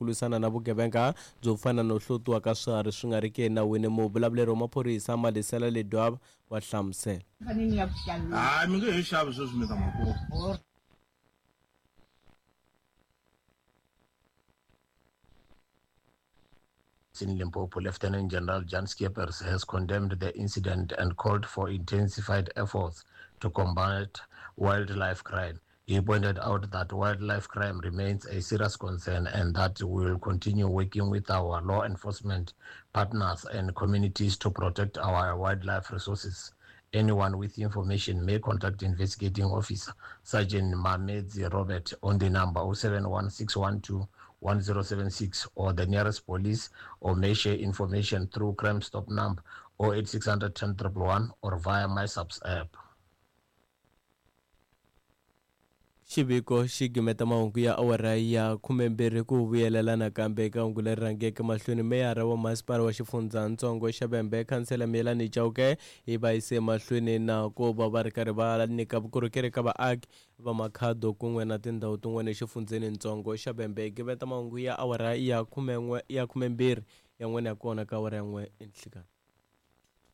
ku lwisana na vugevenga byo fana no hlotiwa ka swiharhi swi nga ri ki enawini. Muvulavuleri wa maphorisa Malisela Ledwaba wa hlamusela. Hayi mi nge he xavi sweswi mi ta ma kuma. In Limpopo, Lieutenant General Jan Schippers has condemned the incident and called for intensified efforts to combat wildlife crime. He pointed out that wildlife crime remains a serious concern and that we will continue working with our law enforcement partners and communities to protect our wildlife resources. Anyone with information may contact investigating officer Sergeant Mamedzi Robert on the number 071612 1076 or the nearest police, or may share information through Crime Stop number 08600 10 111 or via MySAPS app. Xiviko xi gimeta mahungu ya awara ya 12 ku vuyelela nakambe eka hungu leri rhangeke mahlweni. Meyara wa masipala wa xifundzhantsongo xa Vhembe, Khansela Miyelani Chauke, yi va yise mahlweni na ku va va ri karhi va nyika vukorhokeri ka vaaki va Makhado kun'we na tindhawu tin'wana exifundzhenintsongo xa Vhembe. Gimeta mahungu ya awara ya 11 ya 12 yan'wana ya kona ka awara ya 1 enhlikani.